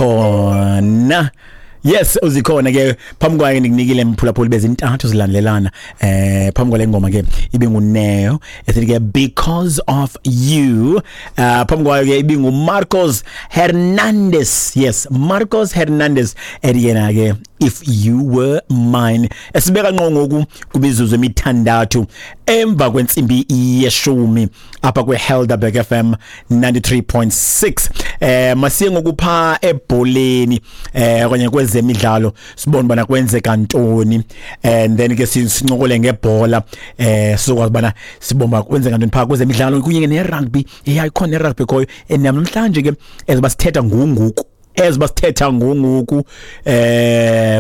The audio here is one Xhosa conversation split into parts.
Uzikhona. Yes, uzikhona ke. Phambi kwayo ndikunikile, mphulaphuli, bezintathu zilandelelana. Phambi kwale ngoma ke ibinguNeo esithi ke "Because of You". Phambi kwayo ke ibingu Marcos Hernandez. Yes, Marcos Hernandez ethi yena ke "If You Were Mine". Esibeka ngqo ngoku kumizuzu emithandathu emva kwentsimbi yeshumi apha kwe Helderberg FM 93.6. Masiye ngokupha ebholeni okanye kwezemidlalo, sibone bana kwenzeka ntoni, and then ke sincokole ngebhola, sizokwazi bana sibomba kwenzeka ntoni pha kwezemidlalo kunye ne-rugby. Yeah, ikhona ne-rugby khoyo, and namhlanje ke eziba sithetha ngunguku, eziba sithetha ngunguku,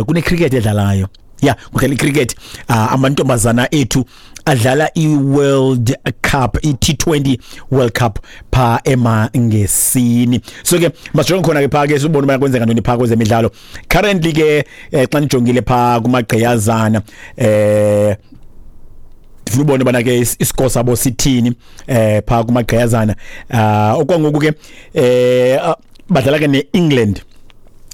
kune cricket edlalayo. Yeah, kudlala icricket. Amantombazana ethu adlala iWorld Cup, iT20 World Cup pha emangesini. So ke masijonge khona ke pha ke, sibone uba kwenzeka ntoni pha kwezemidlalo currently ke. Xa nijongile pha kumagqiyazana, ndifuna ubone bana ke iscore sabo sithini pha kumagqiyazana. Okwangoku ke badlala ke neEngland,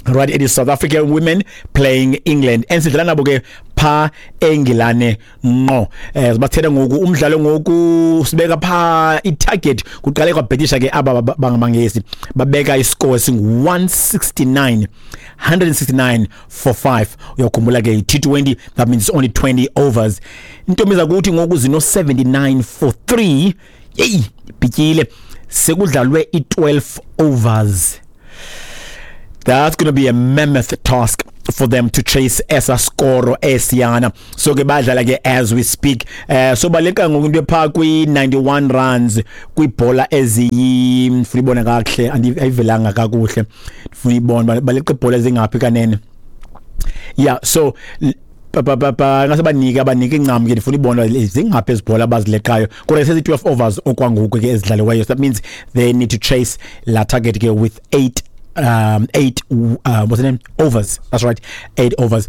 right? It is South African women playing England, and sidlala nabo ke pha eNgilane ngqo. Sibathetha ngoku umdlalo ngoku sibeka pha itarget. Kuqale kwabhetisha ke aba bangamangesi, babeka iscore esingu 169, 169 for 5. Uyakhumbula ke T20, that means only 20 overs. Intombi zakuthi ngoku zino 79 for 3. Yey, bhityile, sekudlalwe i12 overs. That's going to be a mammoth task for them to chase esa score esiyana. So ke badlala ke as we speak. So baleka ngoku into pha kwi 91 runs kwibhola eziyi, ndifuna ibona kakuhle, ayivelanga kakuhle, ndifuna ibona baleqa ibhola ezingaphi kanene. Yeah, so pa pa pa ngase banike incam ke, ndifuna ibona zingaphi ezibhola abazileqayo, kodwa sezi 12 overs okwangoku ke ezidlaliweyo. So that means they need to chase la target ke with 8, 8, what's the name, overs. That's right, 8 overs.